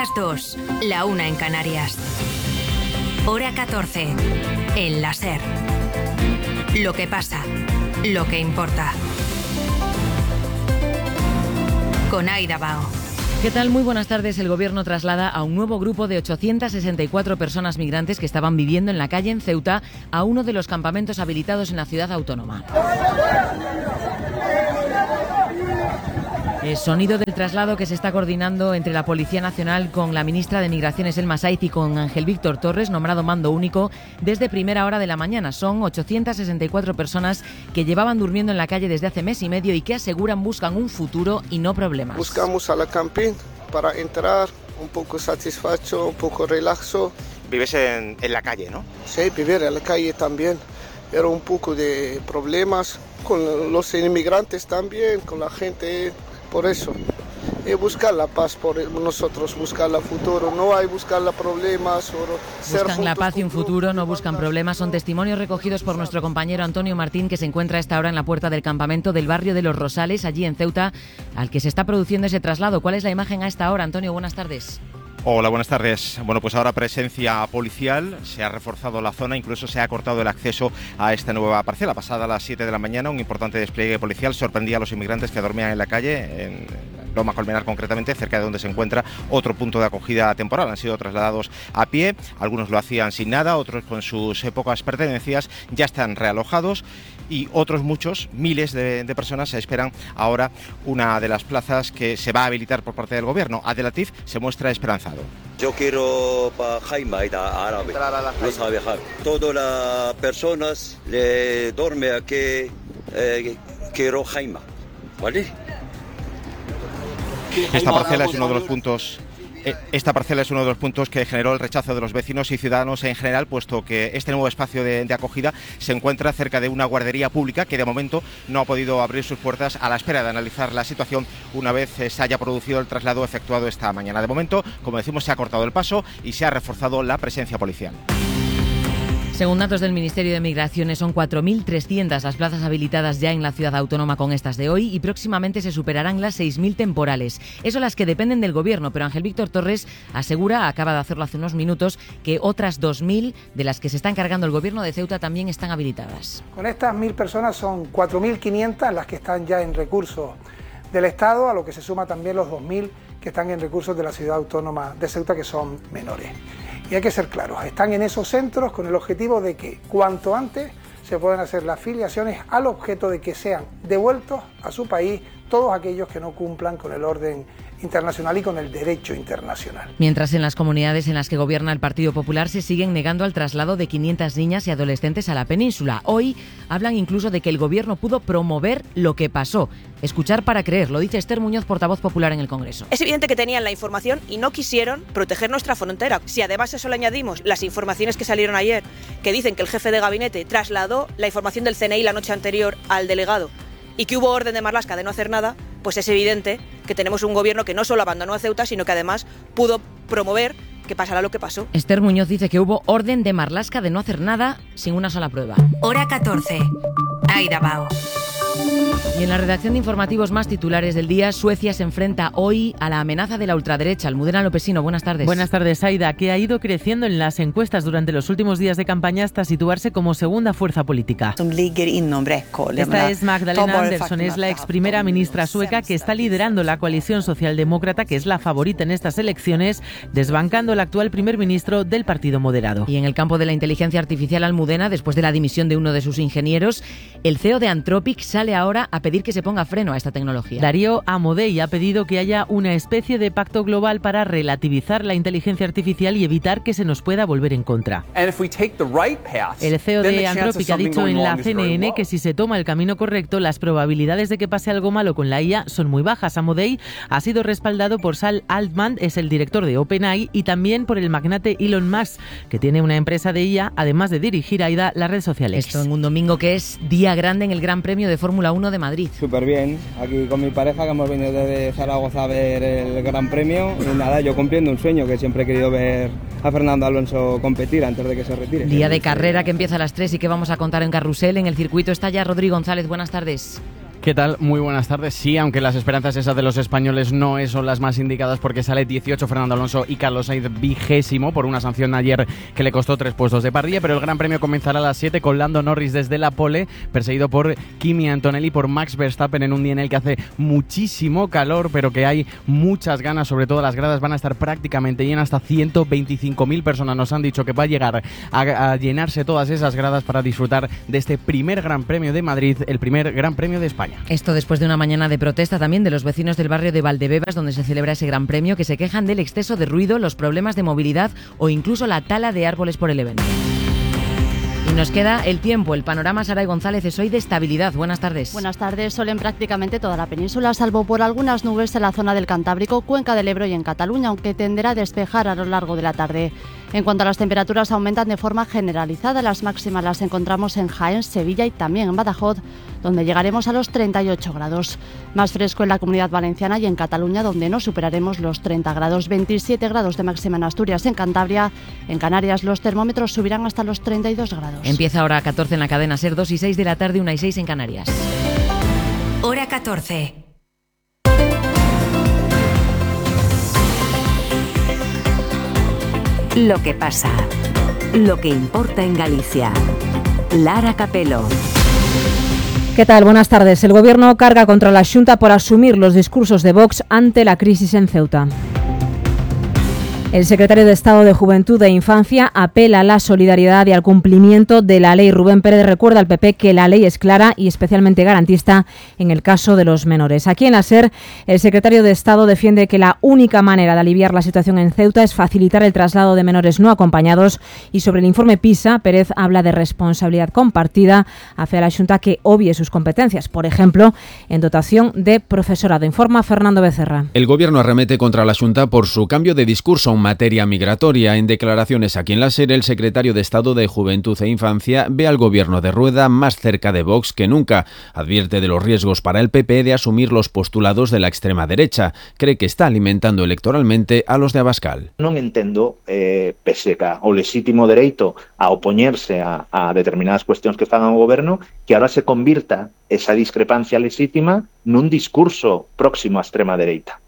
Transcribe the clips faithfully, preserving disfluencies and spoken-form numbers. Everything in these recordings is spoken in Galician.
las dos, la una en Canarias. Hora catorce, en la SER. Lo que pasa, lo que importa. Con Aida Bao. ¿Qué tal? Muy buenas tardes. El Gobierno traslada a un nuevo grupo de ochocientas sesenta y cuatro personas migrantes que estaban viviendo en la calle en Ceuta a uno de los campamentos habilitados en la ciudad autónoma. El sonido del traslado que se está coordinando entre la Policía Nacional con la ministra de Migraciones, Elma Saiz, y con Ángel Víctor Torres, nombrado mando único desde primera hora de la mañana. Son ochocientas sesenta y cuatro personas que llevaban durmiendo en la calle desde hace mes y medio y que aseguran buscan un futuro y no problemas. Buscamos a la camping para entrar un poco satisfecho, un poco relaxo. Vives en, en la calle, ¿no? Sí, vivir en la calle también. Era un poco de problemas con los inmigrantes también, con la gente. Por eso, y buscar la paz por nosotros, buscar el futuro, no hay buscar los problemas. Solo buscan la paz y un futuro, no buscan problemas. Son testimonios recogidos por nuestro compañero Antonio Martín, que se encuentra a esta hora en la puerta del campamento del barrio de Los Rosales, allí en Ceuta, al que se está produciendo ese traslado. ¿Cuál es la imagen a esta hora, Antonio? Buenas tardes. Hola, buenas tardes. Bueno, pues ahora presencia policial, se ha reforzado la zona, incluso se ha cortado el acceso a esta nueva parcela. Pasada las siete de la mañana, un importante despliegue policial sorprendía a los inmigrantes que dormían en la calle, en Loma Colmenar concretamente, cerca de donde se encuentra otro punto de acogida temporal. Han sido trasladados a pie, algunos lo hacían sin nada, otros con sus pocas pertenencias, ya están realojados. Y otros muchos, miles de, de personas, se esperan ahora una de las plazas que se va a habilitar por parte del gobierno. Abdelatif se muestra esperanzado. Yo quiero para Jaime, árabe, no sabe Jaime. Todas las personas le duermen aquí, eh, quiero Jaime, ¿vale? Esta parcela es uno de los puntos... Esta parcela es uno de los puntos que generó el rechazo de los vecinos y ciudadanos en general, puesto que este nuevo espacio de, de acogida se encuentra cerca de una guardería pública que de momento no ha podido abrir sus puertas a la espera de analizar la situación una vez se haya producido el traslado efectuado esta mañana. De momento, como decimos, se ha cortado el paso y se ha reforzado la presencia policial. Según datos del Ministerio de Migraciones, son cuatro mil trescientas las plazas habilitadas ya en la ciudad autónoma con estas de hoy y próximamente se superarán las seis mil temporales. Eso las que dependen del Gobierno, pero Ángel Víctor Torres asegura, acaba de hacerlo hace unos minutos, que otras dos mil de las que se está encargando el Gobierno de Ceuta también están habilitadas. Con estas mil personas son cuatro mil quinientas las que están ya en recursos del Estado, a lo que se suma también los dos mil que están en recursos de la ciudad autónoma de Ceuta, que son menores. Y hay que ser claros, están en esos centros con el objetivo de que cuanto antes se puedan hacer las filiaciones al objeto de que sean devueltos a su país todos aquellos que no cumplan con el orden internacional y con el derecho internacional. Mientras en las comunidades en las que gobierna el Partido Popular se siguen negando al traslado de quinientas niñas y adolescentes a la península. Hoy hablan incluso de que el Gobierno pudo promover lo que pasó. Escuchar para creer, lo dice Esther Muñoz, portavoz popular en el Congreso. Es evidente que tenían la información y no quisieron proteger nuestra frontera. Si además a eso le añadimos las informaciones que salieron ayer, que dicen que el jefe de gabinete trasladó la información del C N I la noche anterior al delegado y que hubo orden de Marlaska de no hacer nada, pues es evidente que tenemos un gobierno que no solo abandonó a Ceuta, sino que además pudo promover que pasará lo que pasó. Esther Muñoz dice que hubo orden de Marlaska de no hacer nada sin una sola prueba. Hora catorce, Aida Bao. Y en la redacción de informativos más titulares del día, Suecia se enfrenta hoy a la amenaza de la ultraderecha. Almudena Lopesino, buenas tardes. Buenas tardes, Aida, que ha ido creciendo en las encuestas durante los últimos días de campaña hasta situarse como segunda fuerza política. Esta es Magdalena Andersson, es la ex primera ministra sueca que está liderando la coalición socialdemócrata, que es la favorita en estas elecciones, desbancando al actual primer ministro del Partido Moderado. Y en el campo de la inteligencia artificial, Almudena, después de la dimisión de uno de sus ingenieros, el C E O de Anthropic sale ahora a pedir que se ponga freno a esta tecnología. Darío Amodei ha pedido que haya una especie de pacto global para relativizar la inteligencia artificial y evitar que se nos pueda volver en contra. El C E O de Anthropic ha dicho en la C N N que si se toma el camino correcto, las probabilidades de que pase algo malo con la I A son muy bajas. Amodei ha sido respaldado por Sal Altman, es el director de OpenAI, y también por el magnate Elon Musk, que tiene una empresa de I A, además de dirigir a Aida las redes sociales. Esto en un domingo que es día grande en el Gran Premio de Fórmula uno de Madrid. Súper bien, aquí con mi pareja que hemos venido desde Zaragoza a ver el Gran Premio y nada, yo cumpliendo un sueño que siempre he querido ver a Fernando Alonso competir antes de que se retire. Día de carrera que empieza a las tres y que vamos a contar en Carrusel. En el circuito está ya Rodrigo González, buenas tardes. ¿Qué tal? Muy buenas tardes. Sí, aunque las esperanzas esas de los españoles no son las más indicadas porque sale dieciocho Fernando Alonso y Carlos Sainz vigésimo por una sanción ayer que le costó tres puestos de parrilla, pero el Gran Premio comenzará a las siete con Lando Norris desde la pole, perseguido por Kimi Antonelli, por Max Verstappen en un día en el que hace muchísimo calor, pero que hay muchas ganas, sobre todo las gradas van a estar prácticamente llenas, hasta ciento veinticinco mil personas nos han dicho que va a llegar a, a llenarse todas esas gradas para disfrutar de este primer Gran Premio de Madrid, el primer Gran Premio de España. Esto después de una mañana de protesta también de los vecinos del barrio de Valdebebas, donde se celebra ese Gran Premio, que se quejan del exceso de ruido, los problemas de movilidad o incluso la tala de árboles por el evento. Y nos queda el tiempo. El panorama, Saray González, es hoy de estabilidad. Buenas tardes. Buenas tardes. Sol en prácticamente toda la península, salvo por algunas nubes en la zona del Cantábrico, Cuenca del Ebro y en Cataluña, aunque tenderá a despejar a lo largo de la tarde. En cuanto a las temperaturas, aumentan de forma generalizada. Las máximas las encontramos en Jaén, Sevilla y también en Badajoz, donde llegaremos a los treinta y ocho grados. Más fresco en la Comunidad Valenciana y en Cataluña, donde no superaremos los treinta grados. veintisiete grados de máxima en Asturias, en Cantabria. En Canarias los termómetros subirán hasta los treinta y dos grados. Empieza ahora a catorce en la cadena SER, dos y seis de la tarde, una y seis en Canarias. Hora catorce. Lo que pasa, lo que importa en Galicia. Lara Capelo. ¿Qué tal? Buenas tardes. El Gobierno carga contra la Xunta por asumir los discursos de Vox ante la crisis en Ceuta. El secretario de Estado de Juventud e Infancia apela a la solidaridad y al cumplimiento de la ley. Rubén Pérez recuerda al P P que la ley es clara y especialmente garantista en el caso de los menores. Aquí en la SER, el secretario de Estado defiende que la única manera de aliviar la situación en Ceuta es facilitar el traslado de menores no acompañados, y sobre el informe PISA, Pérez habla de responsabilidad compartida hacia la Xunta que obvie sus competencias, por ejemplo, en dotación de profesorado. Informa Fernando Becerra. El Gobierno arremete contra la Xunta por su cambio de discurso en materia migratoria. En declaraciones aquí en la SER, el secretario de Estado de Juventud e Infancia ve al Gobierno de Rueda más cerca de Vox que nunca. Advierte de los riesgos para el P P de asumir los postulados de la extrema derecha. Cree que está alimentando electoralmente a los de Abascal. Non entendo, eh, pese ao lexítimo dereito a opoñerse a, a determinadas cuestións que fan ao Goberno, que ahora se convirta esa discrepancia lexítima nun discurso próximo á extrema dereita.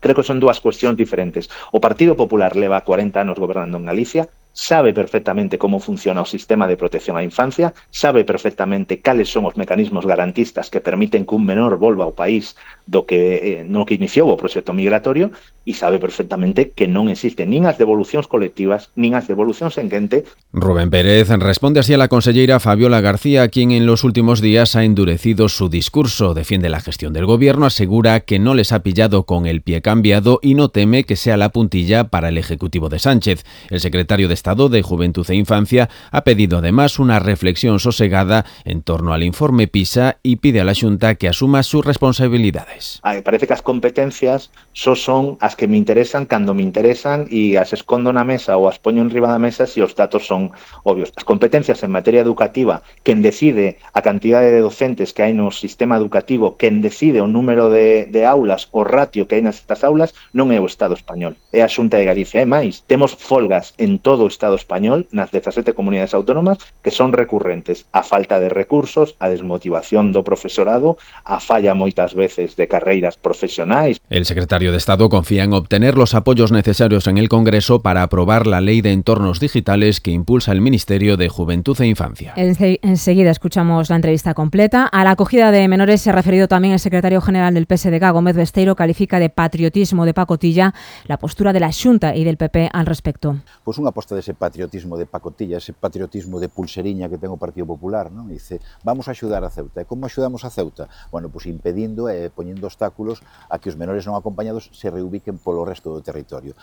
Creo que son dúas cuestións diferentes. O Partido Popular leva cuarenta anos gobernando en Galicia, sabe perfectamente como funciona o sistema de protección á infancia, sabe perfectamente cales son os mecanismos garantistas que permiten que un menor volva ao país do que eh, no que iniciou o proxecto migratorio, e sabe perfectamente que non existen nin as devolucións colectivas nin as devolucións en quente. Rubén Pérez responde así a la conselleira Fabiola García, quien en los últimos días ha endurecido su discurso. Defiende la gestión del Gobierno, asegura que no les ha pillado con el pie cambiado y no teme que sea la puntilla para el Ejecutivo de Sánchez. El secretario de Estado de Juventud e Infancia ha pedido además una reflexión sosegada en torno al informe PISA y pide a la Xunta que asuma sus responsabilidades. Ay, parece que as competencias só son as que me interesan cando me interesan e as escondo na mesa ou as poño enriba da mesa se os datos son obvios. As competencias en materia educativa, quen decide a cantidade de docentes que hai no sistema educativo, quen decide o número de, de aulas, o ratio que hai nestas aulas, non é o Estado español, é a Xunta de Galicia. E máis, temos folgas en todo o Estado español, nas dezasete comunidades autónomas, que son recurrentes. A falta de recursos, a desmotivación do profesorado, a falla moitas veces de carreiras profesionais. El secretario de Estado confía en obtener los apoyos necesarios en el Congreso para aprobar la Ley de Entornos Digitales que impulsa el Ministerio de Juventud e Infancia. Enseguida escuchamos la entrevista completa. A la acogida de menores se ha referido también el secretario general del P S D G, Gómez Besteiro. Califica de patriotismo de pacotilla la postura de la Xunta y del P P al respecto. Pues unha aposta dese patriotismo de pacotilla, ese patriotismo de pulseriña que ten o Partido Popular, non? Dice, vamos a axudar a Ceuta. E como axudamos a Ceuta? Bueno, pues impedindo e eh, poñendo obstáculos a que os menores non acompañados se reubiquen polo resto do territorio.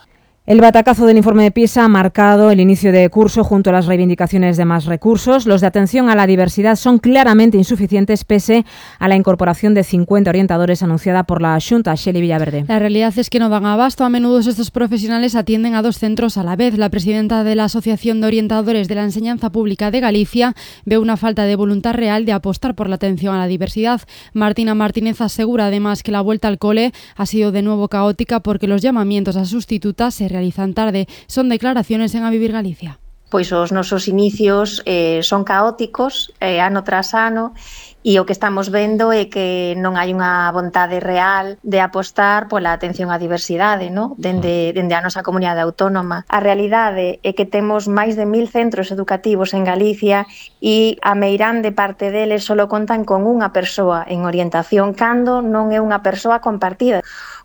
El batacazo del informe de PISA ha marcado el inicio de curso junto a las reivindicaciones de más recursos. Los de atención a la diversidad son claramente insuficientes pese a la incorporación de cincuenta orientadores anunciada por la Xunta. Shelley Villaverde. La realidad es que no dan abasto. A menudo estos profesionales atienden a dos centros a la vez. La presidenta de la Asociación de Orientadores de la Enseñanza Pública de Galicia ve una falta de voluntad real de apostar por la atención a la diversidad. Martina Martínez asegura además que la vuelta al cole ha sido de nuevo caótica porque los llamamientos a sustitutas se realizan tarde. Son declaraciones en A Vivir Galicia. Pois os nosos inicios eh, son caóticos, eh, ano tras ano, e o que estamos vendo é que non hai unha vontade real de apostar pola atención á diversidade, no? dende, dende a nosa comunidade autónoma. A realidade é que temos máis de mil centros educativos en Galicia e a meirande parte deles só contan con unha persoa en orientación cando non é unha persoa compartida.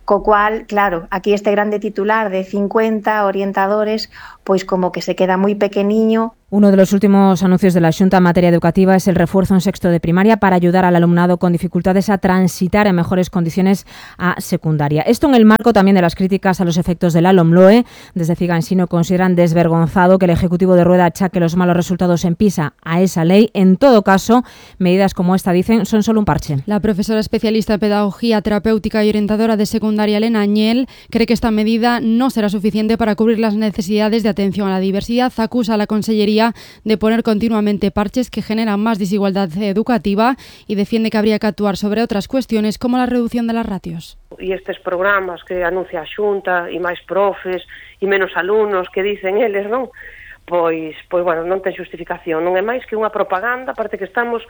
Co cual, claro, aquí este grande titular de cincuenta orientadores, pois como que se queda moi pequeniño. Uno de los últimos anuncios de la Xunta en materia educativa es el refuerzo en sexto de primaria para ayudar al alumnado con dificultades a transitar en mejores condiciones a secundaria. Esto en el marco también de las críticas a los efectos de la LOMLOE. Desde Figansino consideran desvergonzado que el Ejecutivo de Rueda achaque los malos resultados en PISA a esa ley. En todo caso, medidas como esta, dicen, son solo un parche. La profesora especialista en pedagogía terapéutica y orientadora de secundaria, Elena Añel, cree que esta medida no será suficiente para cubrir las necesidades de atención a la diversidad. Acusa a la Consellería de poner continuamente parches que generan más desigualdad educativa y defiende que habría que actuar sobre otras cuestiones como la reducción de las ratios. E estes programas que anuncia a Xunta e máis profes e menos alumnos que dicen eles, non? Pois, pois bueno, non ten xustificación, non é máis que unha propaganda, aparte que estamos,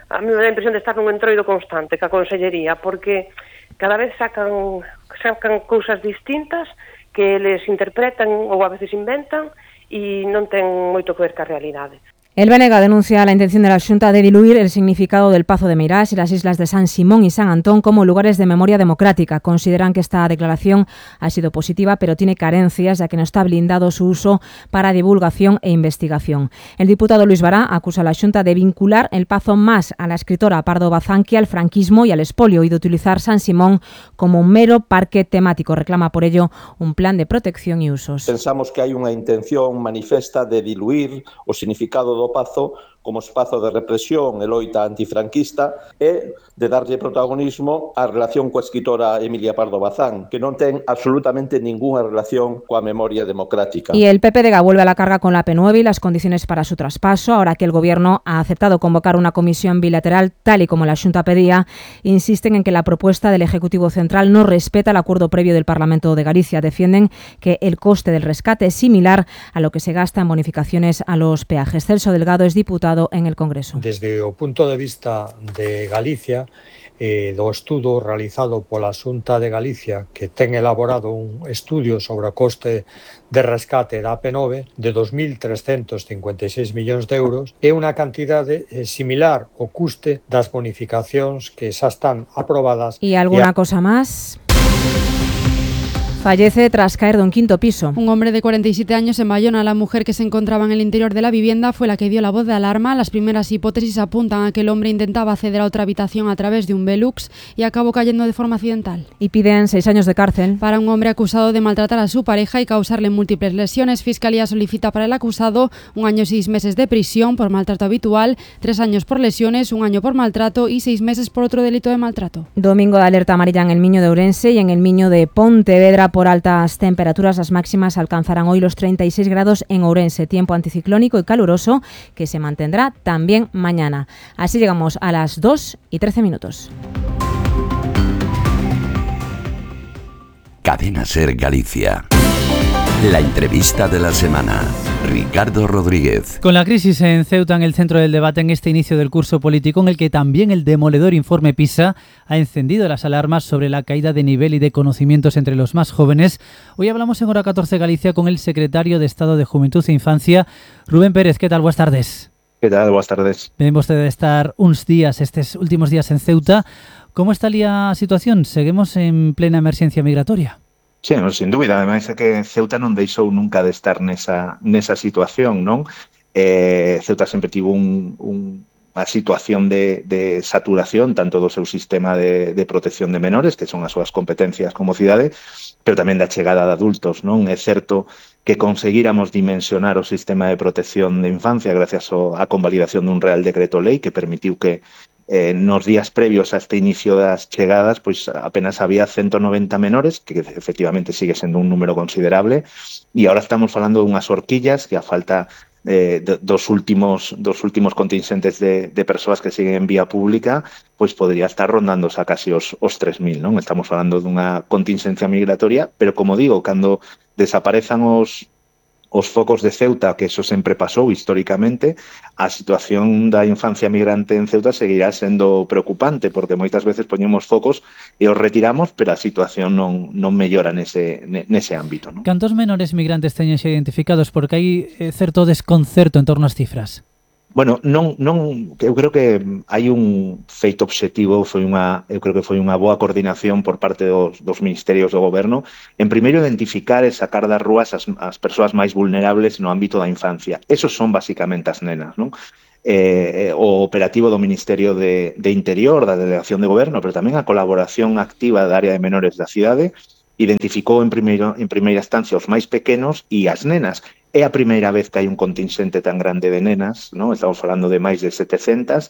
a mí me dá a impresión de estar nun entroido constante ca Consellería, porque cada vez sacan, sacan cousas distintas que eles interpretan ou a veces inventan e non ten moito que ver ca realidade. El B N G denuncia la intención de la Xunta de diluir el significado del Pazo de Meirás y las islas de San Simón y San Antón como lugares de memoria democrática. Consideran que esta declaración ha sido positiva, pero tiene carencias, ya que no está blindado su uso para divulgación e investigación. El diputado Luis Bará acusa a la Xunta de vincular el Pazo más a la escritora Pardo Bazán que al franquismo y al expolio y de utilizar San Simón como un mero parque temático. Reclama por ello un plan de protección y usos. Pensamos que hai unha intención manifesta de diluir o significado do Pazo como espazo de represión e loita antifranquista e de darlle protagonismo á relación coa escritora Emilia Pardo Bazán, que non ten absolutamente ninguna relación coa memoria democrática. Y el P P D G vuelve a la carga con la P nueve y las condiciones para su traspaso, ahora que el Gobierno ha aceptado convocar una comisión bilateral, tal y como la Xunta pedía. Insisten en que la propuesta del Ejecutivo Central no respeta el acuerdo previo del Parlamento de Galicia. Defienden que el coste del rescate es similar a lo que se gasta en bonificaciones a los peajes. Celso Delgado es diputado en el Congreso. Desde o punto de vista de Galicia, eh, do estudo realizado pola Xunta de Galicia, que ten elaborado un estudio sobre o coste de rescate da P nove de dos mil trescentos cincuenta e seis millóns de euros, é unha cantidade eh, similar ao custe das bonificacións que xa están aprobadas. ¿Y alguna e a... cosa más? Fallece tras caer de un quinto piso. Un hombre de cuarenta y siete años en Bayona. La mujer que se encontraba en el interior de la vivienda fue la que dio la voz de alarma. Las primeras hipótesis apuntan a que el hombre intentaba acceder a otra habitación a través de un Velux y acabó cayendo de forma accidental. Y piden seis años de cárcel para un hombre acusado de maltratar a su pareja y causarle múltiples lesiones. Fiscalía solicita para el acusado un año y seis meses de prisión por maltrato habitual, tres años por lesiones, un año por maltrato y seis meses por otro delito de maltrato. Domingo de alerta amarilla en el Miño de Ourense y en el Miño de Pontevedra por altas temperaturas. Las máximas alcanzarán hoy los treinta y seis grados en Ourense. Tiempo anticiclónico y caluroso que se mantendrá también mañana. Así llegamos a las dos y trece minutos. Cadena Ser Galicia. La entrevista de la semana. Ricardo Rodríguez. Con la crisis en Ceuta en el centro del debate en este inicio del curso político, en el que también el demoledor informe PISA ha encendido las alarmas sobre la caída de nivel y de conocimientos entre los más jóvenes, hoy hablamos en Hora catorce Galicia con el secretario de Estado de Juventud e Infancia, Rubén Pérez. ¿Qué tal? Buenas tardes. ¿Qué tal? Buenas tardes. Vemos de estar unos días, estos últimos días en Ceuta. ¿Cómo está la situación? ¿Seguimos en plena emergencia migratoria? Sí, no, sin dúbida. Ademais é que Ceuta non deixou nunca de estar nesa, nesa situación, non? Eh, Ceuta sempre tivo un, un, unha situación de, de saturación tanto do seu sistema de, de protección de menores, que son as súas competencias como cidade, pero tamén da chegada de adultos, non? É certo que conseguíramos dimensionar o sistema de protección de infancia gracias á convalidación dun Real Decreto Lei que permitiu que Eh, nos días previos a este inicio das chegadas, pois apenas había ciento noventa menores, que efectivamente sigue sendo un número considerable, e agora estamos falando dunhas horquillas que a falta eh, de, dos últimos dos últimos contingentes de, de persoas que siguen en vía pública, pois podría estar rondando a casi os, os tres mil, non? Estamos falando dunha contingencia migratoria, pero como digo, cando desaparezan os os focos de Ceuta, que eso sempre pasou históricamente, a situación da infancia migrante en Ceuta seguirá sendo preocupante, porque moitas veces poñemos focos e os retiramos, pero a situación non, non mellora nese, nese ámbito, non? Cantos menores migrantes teñen xa identificados? Porque hai eh, certo desconcerto en torno ás cifras. Bueno, non, non, eu creo que hai un feito obxectivo, foi unha, eu creo que foi unha boa coordinación por parte dos, dos ministerios do goberno, en primeiro identificar e sacar das rúas as, as persoas máis vulnerables no ámbito da infancia. Esos son basicamente as nenas, non? Eh, o operativo do Ministerio de, de Interior, da Delegación de Goberno, pero tamén a colaboración activa da área de menores da cidade, identificou en, primeiro, en primeira instancia os máis pequenos e as nenas. É a primeira vez que hai un contingente tan grande de nenas, ¿no? Estamos falando de máis de setecentas.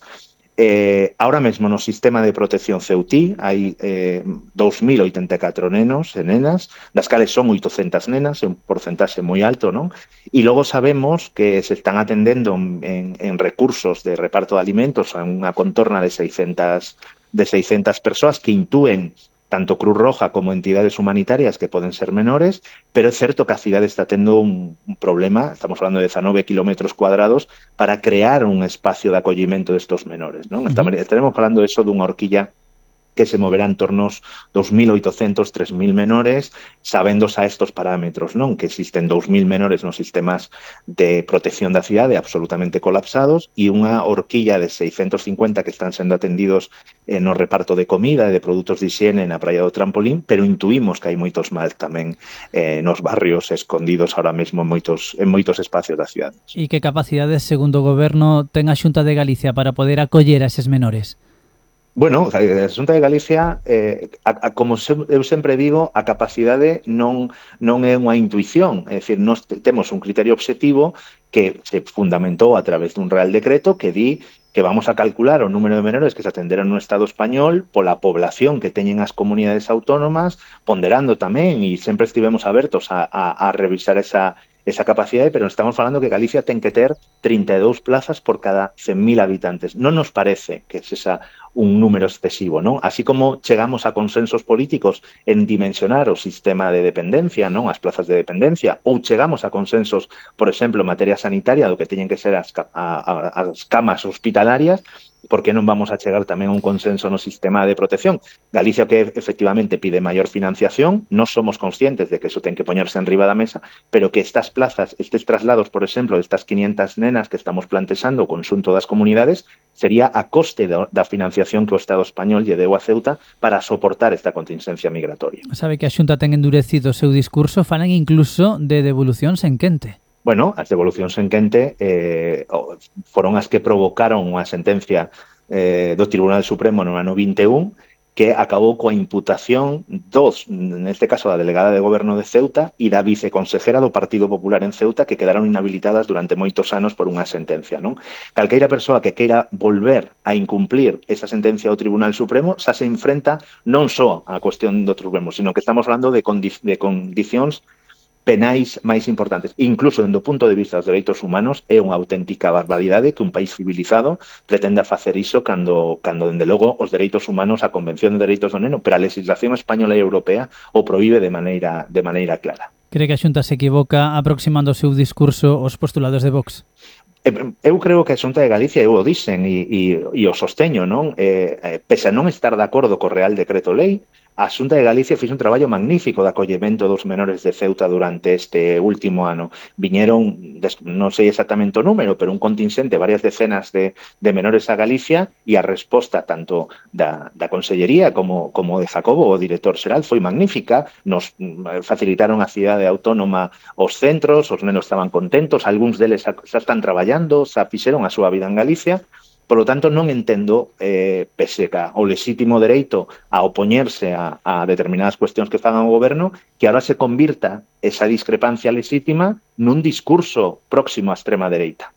Eh, ahora mesmo no sistema de protección ceutí hai eh, dous mil oitenta e catro nenos e nenas, das cales son oitocentas nenas, é un porcentaxe moi alto, non? E logo sabemos que se están atendendo en, en recursos de reparto de alimentos a unha contorna de seiscentas, de seiscentas persoas que intúen tanto Cruz Roja como entidades humanitarias que poden ser menores, pero é certo que a cidade está tendo un, un problema, estamos falando de diecinueve kilómetros cuadrados, para crear un espacio de acollimento destos menores, non? Uh-huh. Estaremos falando de eso dunha horquilla que se moverá en torno aos dos mil oitocentos, tres mil menores, sabéndose a estos parámetros, non? Que existen dous mil menores nos sistemas de protección da cidade absolutamente colapsados e unha horquilla de seiscentos cincuenta que están sendo atendidos eh, no reparto de comida e de produtos de higiene na Praia do Trampolín, pero intuímos que hai moitos máis tamén eh, nos barrios escondidos ahora mesmo en moitos, en moitos espacios da cidade. E que capacidades, segundo o Goberno, ten a Xunta de Galicia para poder acoller a eses menores? Bueno, a Xunta de Galicia, eh, a, a, como se, eu sempre digo, a capacidade non, non é unha intuición, é dicir, nós temos un criterio obxectivo que se fundamentou a través dun Real Decreto que di que vamos a calcular o número de menores que se atenderon no Estado español pola población que teñen as comunidades autónomas, ponderando tamén, e sempre estivemos abertos a, a, a revisar esa esa capacidade, pero estamos falando que Galicia ten que ter trinta e dous plazas por cada cen mil habitantes. Non nos parece que es esa un número excesivo, non? Así como chegamos a consensos políticos en dimensionar o sistema de dependencia, non? As plazas de dependencia, ou chegamos a consensos, por exemplo, en materia sanitaria, do que teñen que ser as, a, a, as camas hospitalarias, por que non vamos a chegar tamén a un consenso no sistema de protección? Galicia que efectivamente pide maior financiación, non somos conscientes de que eso ten que poñerse en riba da mesa, pero que estas plazas, estes traslados, por exemplo, de estas quinientas nenas que estamos plantexando o conxunto das comunidades, sería a coste da, da financiación que o Estado español lle deu a Ceuta para soportar esta contingencia migratoria. Sabe que a Xunta ten endurecido o seu discurso, falan incluso de devolucións en quente. Bueno, as devolucións en quente eh, foron as que provocaron unha sentencia eh, do Tribunal Supremo no ano vinte e un que acabou coa imputación dos, neste caso da delegada de Goberno de Ceuta e da viceconsejera do Partido Popular en Ceuta, que quedaron inhabilitadas durante moitos anos por unha sentencia, non? Calqueira persoa que queira volver a incumplir esa sentencia do Tribunal Supremo xa se enfrenta non só á cuestión do Supremo, sino que estamos falando de, condi de condicións penais máis importantes. Incluso, dende o punto de vista dos dereitos humanos, é unha auténtica barbaridade que un país civilizado pretenda facer iso cando, cando dende logo, os dereitos humanos, a Convención de Dereitos do Neno, pero a legislación española e europea o proíbe de maneira, de maneira clara. Cree que a Xunta se equivoca aproximando o seu discurso aos postulados de Vox? Eu creo que a Xunta de Galicia, eu o dixen e, e, e o sosteño, non? Eh, pese a non estar de acordo co Real Decreto Lei, a Xunta de Galicia fixo un traballo magnífico de acollemento dos menores de Ceuta durante este último ano. Viñeron, non sei exactamente o número, pero un contingente, varias decenas de, de menores a Galicia, e a resposta tanto da, da Consellería como, como de Jacobo, o director xeral, foi magnífica. Nos facilitaron a cidade autónoma os centros, os nenos estaban contentos, algúns deles xa están traballando, xa fixeron a súa vida en Galicia. Por lo tanto, non entendo, eh, pese a o lexítimo dereito a opoñerse a, a determinadas cuestións que fagan o goberno, que ahora se convirta esa discrepancia lexítima nun discurso próximo á extrema dereita.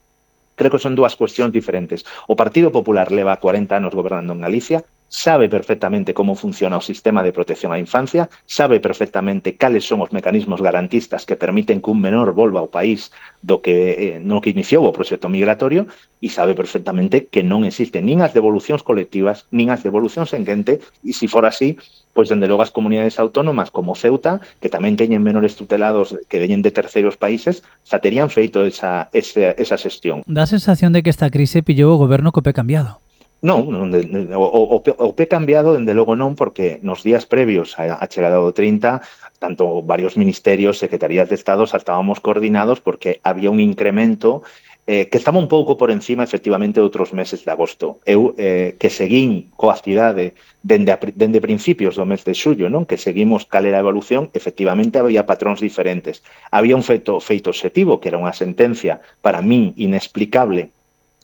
Creo que son dúas cuestións diferentes. O Partido Popular leva cuarenta anos gobernando en Galicia, sabe perfectamente como funciona o sistema de protección á infancia, sabe perfectamente cales son os mecanismos garantistas que permiten que un menor volva ao país do que, eh, no que iniciou o proxecto migratorio, e sabe perfectamente que non existen nin as devolucións colectivas, nin as devolucións en quente, e se for así, pois dende logo as comunidades autónomas como Ceuta, que tamén teñen menores tutelados que veñen de terceiros países, xa terían feito esa, esa, esa xestión. Dá a sensación de que esta crise pillou o goberno co pé cambiado. Non, non de, de, o, o, o pé cambiado, dende logo non, porque nos días previos a, a chegada do trinta, tanto varios ministerios, secretarías de Estado, estábamos coordinados porque había un incremento eh, que estaba un pouco por encima, efectivamente, de outros meses de agosto. Eu, eh, que seguín coa cidade dende, a, dende principios do mes de xullo, non? Que seguimos cal era a evolución, efectivamente había patróns diferentes. Había un feito, feito obxectivo, que era unha sentencia, para min, inexplicable,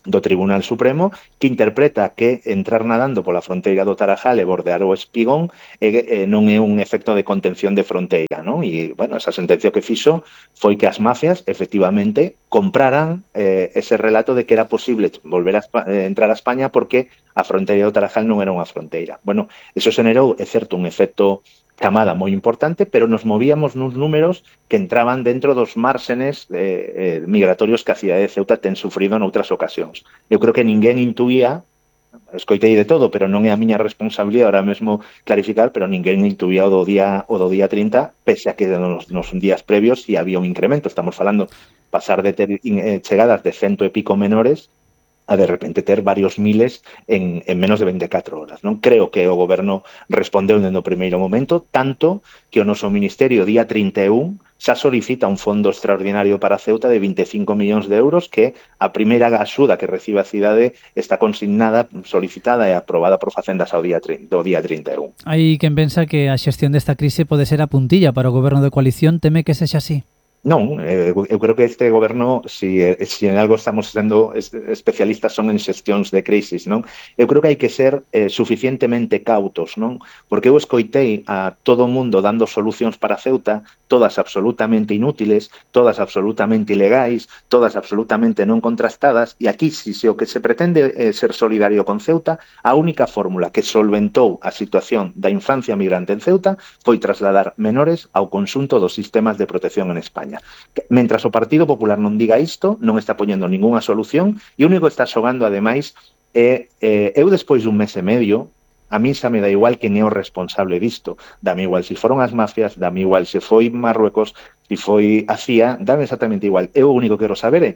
do Tribunal Supremo, que interpreta que entrar nadando pola fronteira do Tarajal e bordear o Espigón eh, eh, non é un efecto de contención de fronteira, non? E, bueno, esa sentencia que fixo foi que as mafias, efectivamente, compraran eh, ese relato de que era posible volver a eh, entrar a España porque a fronteira do Tarajal non era unha fronteira. Bueno, eso xenerou, é certo, un efecto camada moi importante, pero nos movíamos nuns números que entraban dentro dos márgenes eh, eh, migratorios que a cidade de Ceuta ten sufrido noutras ocasións. Eu creo que ninguén intuía, escoitei de todo, pero non é a miña responsabilidade ahora mesmo clarificar, pero ninguén intuía o do día o do día trinta, pese a que nos, nos días previos si había un incremento. Estamos falando pasar de ter eh, chegadas de cento e pico menores a de repente ter varios miles en, en menos de veinticuatro horas. Non creo que o goberno respondeu dende o primeiro momento, tanto que o noso ministerio día trinta e un xa solicita un fondo extraordinario para Ceuta de veinticinco millóns de euros, que a primeira axuda que recibe a cidade está consignada, solicitada e aprobada por Facendas ao día, do día trinta e un. Hai quen pensa que a xestión desta crise pode ser a puntilla para o goberno de coalición, teme que sexa así? Non, eh, eu creo que este goberno, si, si en algo estamos sendo especialistas son en xestións de crisis, non? Eu creo que hai que ser eh, suficientemente cautos, non? Porque eu escoitei a todo o mundo dando solucións para Ceuta, todas absolutamente inútiles, todas absolutamente ilegais, todas absolutamente non contrastadas, e aquí, si, si o que se pretende é ser solidario con Ceuta, a única fórmula que solventou a situación da infancia migrante en Ceuta foi trasladar menores ao conxunto dos sistemas de protección en España. Mentras o Partido Popular non diga isto, non está poñendo ningunha solución, e o único que está xogando, ademais, é, eh, eu despois dun mes e medio, a mí xa me dá igual que é o responsable disto. Dame igual se foron as mafias, dame igual se foi Marruecos, se foi a C I A, dame exactamente igual. Eu o único que quero saber é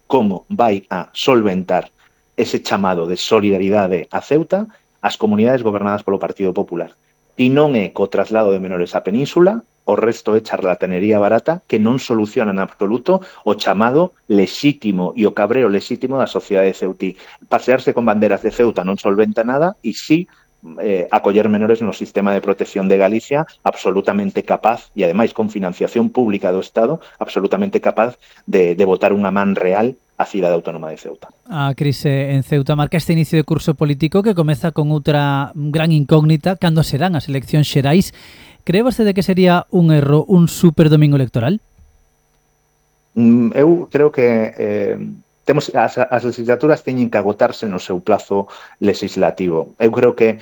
como vai a solventar ese chamado de solidaridade a Ceuta as comunidades gobernadas polo Partido Popular. E non é co traslado de menores á península, o resto é charlatanería barata que non soluciona en absoluto o chamado lexítimo e o cabreo lexítimo da sociedade ceutí. Pasearse con banderas de Ceuta non solventa nada e sí eh, acoller menores no sistema de protección de Galicia absolutamente capaz e ademais con financiación pública do Estado absolutamente capaz de, de botar unha man real a cidade autónoma de Ceuta. A crise en Ceuta marca este inicio de curso político que comeza con outra gran incógnita, cando serán as eleccións xerais. Cree vostede que sería un erro un super domingo electoral? Mm, eu creo que eh, temos as, as legislaturas teñen que agotarse no seu plazo legislativo. Eu creo que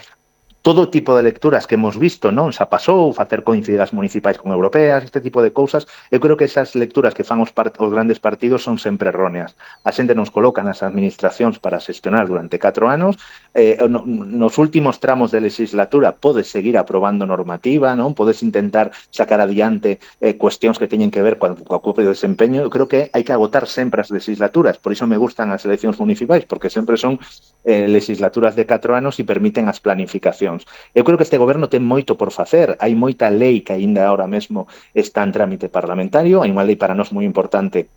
todo tipo de lecturas que hemos visto, non? Xa pasou, facer coincidir as municipais con europeas, este tipo de cousas, eu creo que esas lecturas que fan os, part os grandes partidos son sempre erróneas. A xente nos coloca nas administracións para xestionar durante catro anos, eh, no, nos últimos tramos de legislatura podes seguir aprobando normativa, non? Podes intentar sacar adiante eh, cuestións que teñen que ver coa, coa propio desempeño. Eu creo que hai que agotar sempre as legislaturas, por iso me gustan as eleccións municipais, porque sempre son eh, legislaturas de catro anos e permiten as planificacións. Eu creo que este goberno ten moito por facer. Hai moita lei que aínda ahora mesmo está en trámite parlamentario. Hai unha lei para nós moi importante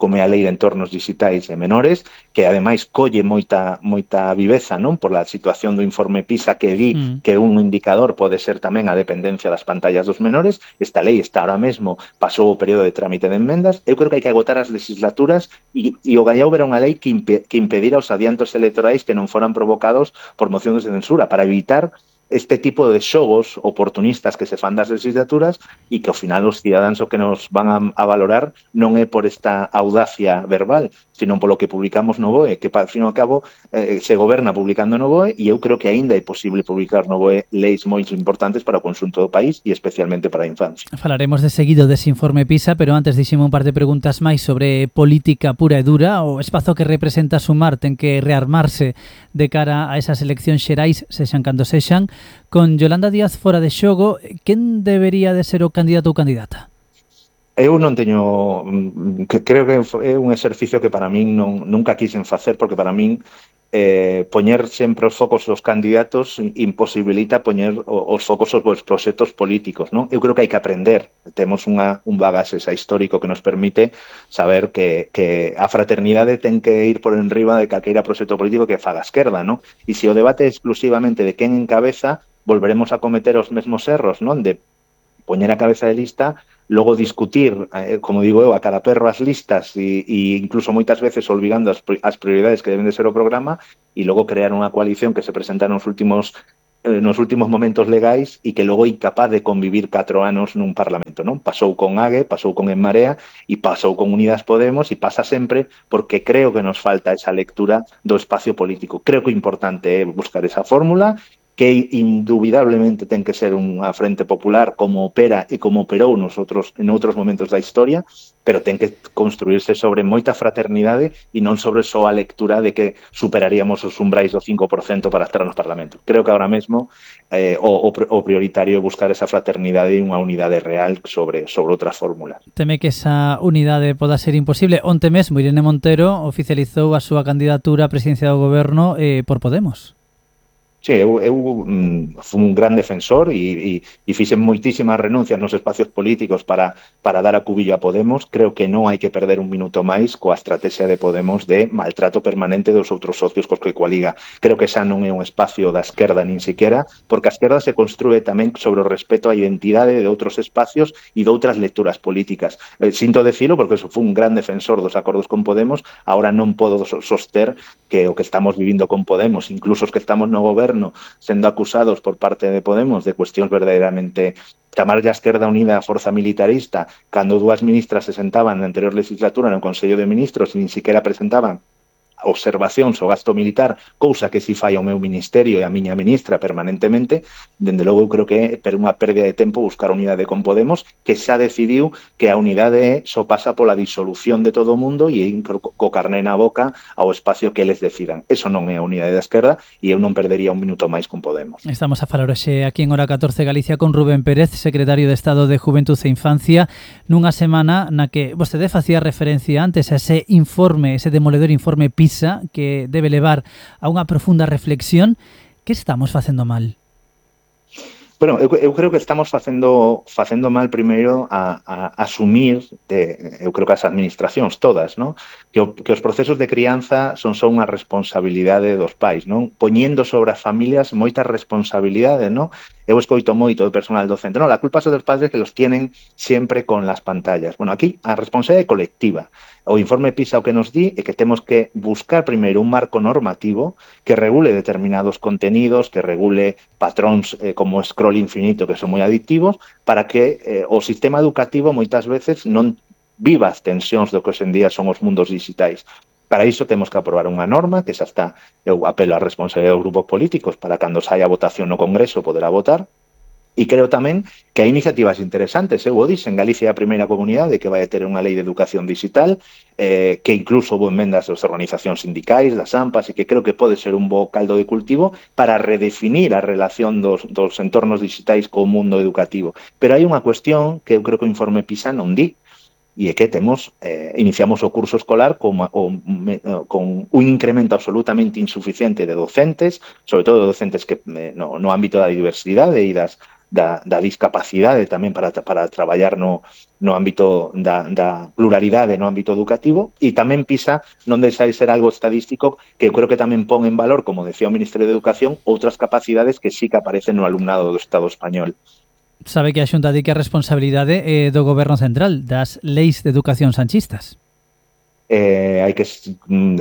como é a lei de entornos digitais e menores, que ademais colle moita moita viveza, non, por a situación do informe PISA que di mm. que un indicador pode ser tamén a dependencia das pantallas dos menores. Esta lei está ahora mesmo, pasou o período de trámite de enmendas. Eu creo que hai que agotar as legislaturas e, e o gallao era unha lei que, impe, que impedira os adiantos electorais que non foran provocados por mocións de censura, para evitar este tipo de xogos oportunistas que se fan das legislaturas e que ao final os cidadáns o que nos van a, a valorar non é por esta audacia verbal, sino polo que publicamos no B O E, que ao fin e ao cabo eh, se goberna publicando no B O E, e eu creo que aínda é posible publicar no B O E leis moi importantes para o conxunto do país e especialmente para a infancia. Falaremos de seguido dese informe PISA, pero antes dixeme un par de preguntas máis sobre política pura e dura. O espazo que representa Sumar ten que rearmarse de cara a esas eleccións xerais, sexan cando sexan. Con Yolanda Díaz fora de xogo, quen debería de ser o candidato ou candidata? Eu non teño, que creo que é un exercicio que para min non, nunca quixen facer, porque para min eh, poñer sempre os focos dos candidatos imposibilita poñer os focos os proxectos políticos, non? Eu creo que hai que aprender, temos unha, un bagaxe xa histórico que nos permite saber que, que a fraternidade ten que ir por enriba de calqueira proxecto político que faga a esquerda, non? E se o debate é exclusivamente de quen encabeza, volveremos a cometer os mesmos erros, non? De poñer a cabeza de lista, logo discutir, eh, como digo eu, a cada perro as listas e, e incluso moitas veces olvidando as, as prioridades que deben de ser o programa, e logo crear unha coalición que se presenta nos últimos eh, nos últimos momentos legais e que logo é incapaz de convivir catro anos nun Parlamento, non? Pasou con A G E, pasou con En Marea e pasou con Unidas Podemos, e pasa sempre porque creo que nos falta esa lectura do espacio político. Creo que o importante é buscar esa fórmula, que indubidablemente ten que ser unha frente popular como opera e como operou nos outros, en outros momentos da historia, pero ten que construirse sobre moita fraternidade e non sobre só a lectura de que superaríamos os umbrais do cinco por cento para estar no Parlamento. Creo que agora mesmo eh, o, o prioritario é buscar esa fraternidade e unha unidade real sobre, sobre outra fórmula. Teme que esa unidade poda ser imposible. Onte mesmo Irene Montero oficializou a súa candidatura á presidencia do goberno eh, por Podemos. Sí, eu, eu um, fui un gran defensor e, e, e fixen moitísimas renuncias nos espacios políticos para, para dar a cubillo a Podemos. Creo que non hai que perder un minuto máis coa estrategia de Podemos de maltrato permanente dos outros socios cos que coaliga. Creo que xa non é un espacio da esquerda nin siquiera, porque a esquerda se construe tamén sobre o respeto á identidade de outros espacios e de outras lecturas políticas. Eh, sinto decilo porque eso fui un gran defensor dos acordos con Podemos, ahora non podo soster que o que estamos vivindo con Podemos, incluso os que estamos no goberno, sendo acusados por parte de Podemos de cuestións verdadeiramente, chamar a Esquerda Unida a forza militarista cando dúas ministras se sentaban na anterior legislatura no Consello de Ministros e nin siquiera presentaban observacións ao gasto militar, cousa que si fai ao meu ministerio e a miña ministra permanentemente. Dende logo eu creo que é per unha pérdida de tempo buscar unidade con Podemos, que xa decidiu que a unidade só pasa pola disolución de todo o mundo e ir co carné na boca ao espacio que eles decidan. Eso non é a unidade da esquerda e eu non perdería un minuto máis con Podemos. Estamos a falar hoxe aquí en Hora catorce Galicia con Rubén Pérez, secretario de Estado de Juventud e Infancia, nunha semana na que vostede facía referencia antes a ese informe, ese demoledor informe PISA, que debe levar a unha profunda reflexión. Que estamos facendo mal? Bueno, eu, eu creo que estamos facendo facendo mal primeiro a, a asumir, de, eu creo que as administracións todas, ¿no? que, o, que os procesos de crianza son só unha responsabilidade dos pais, non? Poñendo sobre as familias moita responsabilidade, non? Eu escoito moito do personal docente, non, la culpa son dos padres que los tienen sempre con las pantallas. Bueno, aquí a responsabilidade é colectiva. O informe PISA o que nos di é que temos que buscar primeiro un marco normativo que regule determinados contenidos, que regule patróns eh, como scroll infinito que son moi adictivos, para que eh, o sistema educativo moitas veces non viva as tensións do que hoxe en día son os mundos digitais. Para iso temos que aprobar unha norma, que xa está, eu apelo á responsabilidade dos grupos políticos para cando saia a votación no Congreso poderá votar. E creo tamén que hai iniciativas interesantes. Eu o dixen, Galicia é a primeira comunidade que vai a ter unha lei de educación digital, eh, que incluso houve enmendas das organizacións sindicais, das AMPAs, e que creo que pode ser un bo caldo de cultivo para redefinir a relación dos, dos entornos digitais co mundo educativo. Pero hai unha cuestión que eu creo que o informe PISA non di, e é que temos, eh, iniciamos o curso escolar con, o, me, con un incremento absolutamente insuficiente de docentes, sobre todo de docentes que eh, no, no ámbito da diversidade e das Da, da discapacidade tamén para, para traballar no, no ámbito da, da pluralidade no ámbito educativo, e tamén PISA non deixa de ser algo estadístico que eu creo que tamén pon en valor, como decía o Ministerio de Educación, outras capacidades que sí que aparecen no alumnado do Estado español. Sabe que a Xunta di que a responsabilidade é do Goberno Central, das leis de educación sanchistas. eh, hai que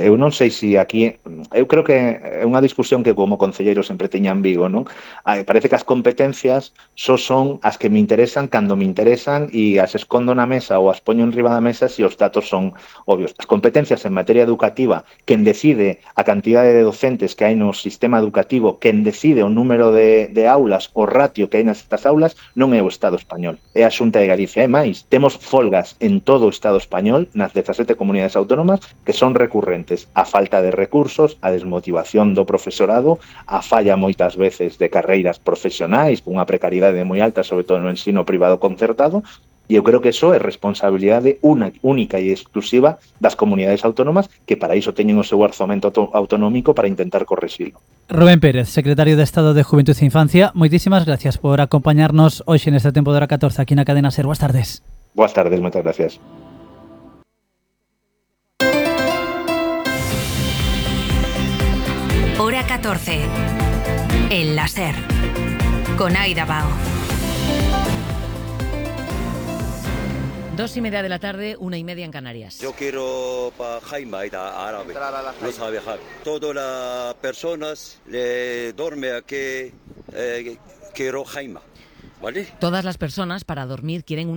eu non sei se aquí eu creo que é unha discusión que como concelleiro sempre teña en Vigo, non? Parece que as competencias só son as que me interesan cando me interesan e as escondo na mesa ou as poño en riba da mesa se os datos son obvios. As competencias en materia educativa, quen decide a cantidade de docentes que hai no sistema educativo, quen decide o número de, de aulas, o ratio que hai nestas aulas, non é o Estado español, é a Xunta de Galicia. E máis, temos folgas en todo o Estado español, nas dezasete comunidades autónomas, que son recurrentes. A falta de recursos, a desmotivación do profesorado, a falla moitas veces de carreiras profesionais, unha precariedade moi alta, sobre todo no ensino privado concertado, e eu creo que iso é responsabilidade una, única e exclusiva das comunidades autónomas que para iso teñen o seu orzamento autonómico para intentar correxilo. Rubén Pérez, secretario de Estado de Juventud e Infancia, moitísimas gracias por acompañarnos hoxe neste tempo de hora catorce aquí na Cadena SER. Boas tardes. Boas tardes, moitas gracias. Hora catorce. En la SER. Con Aida Bao. Dos y media de la tarde, una y media en Canarias. Yo quiero para Jaime, Aida, árabe. No sabe viajar. Todas las personas le duermen aquí, eh, quiero Jaime. ¿Vale? Todas las personas para dormir quieren una